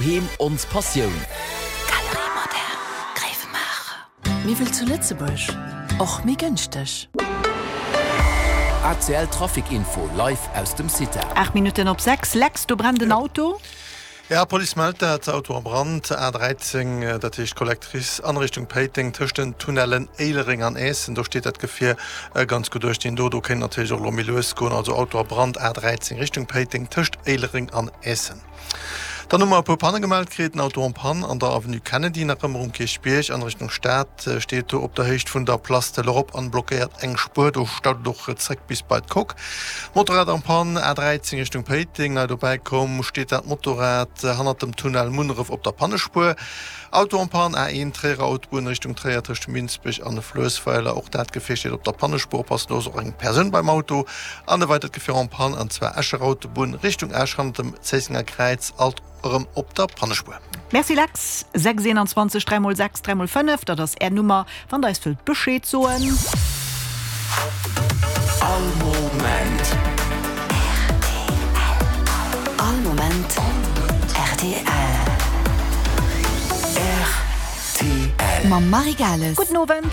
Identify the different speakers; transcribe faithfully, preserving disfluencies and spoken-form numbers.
Speaker 1: Doheem ons Passioun.
Speaker 2: Galerie Moderne Gréiwemaacher. Miwwel zu Lëtzebuerg, och méi gënschteg.
Speaker 1: A C L Trafic Info live aus dem CITA.
Speaker 3: Aacht Minutten op sechs. Lex, do brennt en Auto.
Speaker 4: Ja, Police mellt dat, Auto a Brand, A dräizéng, dat heescht Collectrice an Richtung Péiteng, tëscht den Tunnellen Éilereng an Äessen, do steet dat Gefier ganz gutt duerch den do. Do kéint natierlech och elo méi lues goen. Also Auto a Brand, A dräizéng Richtung Péiteng, tëscht Éilereng an Äessen. Dann hu mer e puer Panne gemellt kritt. En Auto en panne an der Avenue Kennedy, nach ëmmer um Kierchbierg an Richtung Stad, steet do op der Héicht vun der Place de l'Europe an blockéiert eng Spuer. Do staut et och zréck bis bei d'Coque. Motorrad en panne, A dräizéng Richtung Péiteng, nei dobäi komm, steet dat Motorrad hannert dem Tunnel Munneref op der Pannespuer. Auto en panne, A een Tréierer Autobunn Richtung Tréier tëscht Minsbech an Fluessweiler, och dat Gefier steet op der Pannespuer. Oppassen, do ass och eng Persoun beim Auto. An e weidert Gefier en panne, an zwar Escher Autobunn Richtung Esch hannert dem Zéissenger Kräiz, alt erëm op der Pannespuer.
Speaker 3: Merci Lex. Sechs eenanzwanzeg dräi mol sechs dräi mol fënnef, dat ass Är Nummer, wann der eis wëllt Bescheed soen.
Speaker 1: All Moment.
Speaker 2: R T L. All Moment R T L.
Speaker 1: R T L.
Speaker 2: Mam Marie Gales.
Speaker 3: Gudden Owend.